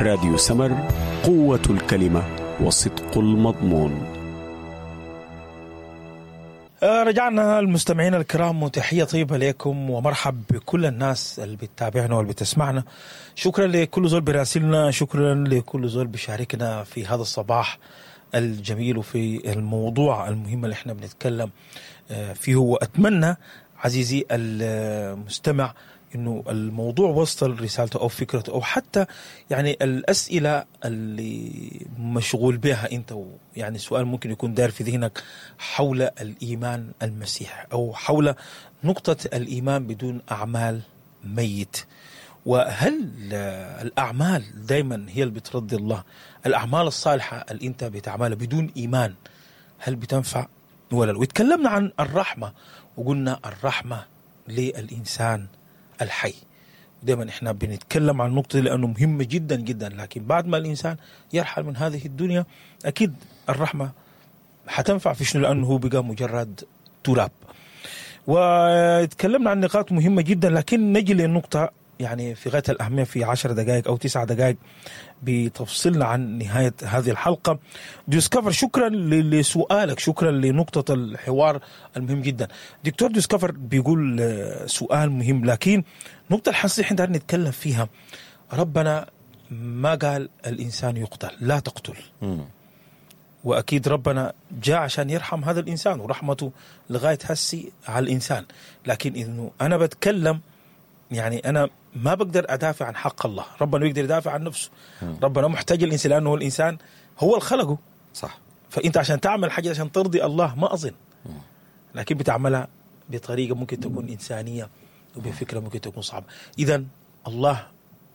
راديو سمر، قوة الكلمة وصدق المضمون. رجعنا المستمعين الكرام، وتحية طيبة لكم ومرحب بكل الناس اللي بتتابعنا واللي بتسمعنا. شكرا لكل زول براسلنا، شكرا لكل زول بيشاركنا في هذا الصباح الجميل وفي الموضوع المهم اللي احنا بنتكلم فيه. واتمنى عزيزي المستمع انه الموضوع وصل رسالته او فكرته او حتى يعني الاسئلة اللي مشغول بها انت، يعني سؤال ممكن يكون داير في ذهنك حول الايمان المسيح او حول نقطة الايمان بدون اعمال ميت، وهل الاعمال دايما هي اللي بترضي الله؟ الاعمال الصالحة اللي انت بتعملها بدون ايمان هل بتنفع ولا لا؟ وتكلمنا عن الرحمة وقلنا الرحمة للانسان الحي. دايما احنا بنتكلم عن النقطة دي لانه مهمة جدا جدا، لكن بعد ما الانسان يرحل من هذه الدنيا اكيد الرحمة حتنفع في شنو؟ لانه هو بقى مجرد تراب. وتكلمنا عن نقاط مهمة جدا، لكن نجي للنقطة يعني في غاية الاهمية في 10 دقائق او 9 دقائق بتفصلنا عن نهاية هذه الحلقة. ديسكفر، شكرا لسؤالك، شكرا لنقطة الحوار المهم جدا. دكتور ديسكفر بيقول سؤال مهم، لكن نقطة الحساسية احنا نتكلم فيها، ربنا ما قال الانسان يقتل، لا تقتل. واكيد ربنا جاء عشان يرحم هذا الانسان ورحمته لغاية هسي على الانسان، لكن انه انا بتكلم يعني انا ما بقدر ادافع عن حق الله، ربنا بيقدر يدافع عن نفسه. ربنا محتاج الانسان لانه هو الانسان هو اللي خلقه. صح. فانت عشان تعمل حاجة عشان ترضي الله ما اظن، لكن بتعملها بطريقة ممكن تكون انسانيه وبفكره ممكن تكون صعبة. اذا الله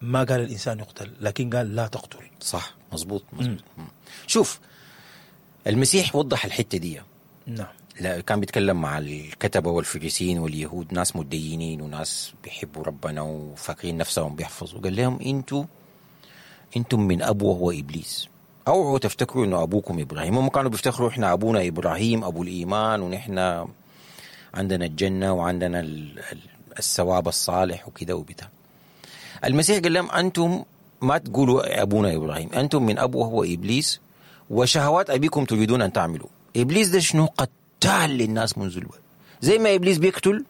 ما قال الانسان يقتل، لكن قال لا تقتل. صح، مظبوط مظبوط. شوف المسيح وضح الحتة دي. نعم. لا، كان بيتكلم مع الكتبة والفريسيين واليهود، ناس متدينين وناس بيحبوا ربنا وفاكرين نفسهم بيحفظوا. قال لهم انتم من ابو وهو ابليس، اوعوا تفتكروا انه ابوكم ابراهيم. هم كانوا بيفتخروا احنا ابونا ابراهيم ابو الايمان، ونحن عندنا الجنة وعندنا الثواب الصالح وكده وبتاع. المسيح قال لهم انتم ما تقولوا ابونا ابراهيم، انتم من ابو وهو ابليس، وشهوات ابيكم تريدون ان تعملوا. ابليس ده شنو؟ قتال للناس منذ البدء. زي ما ابليس بيقتل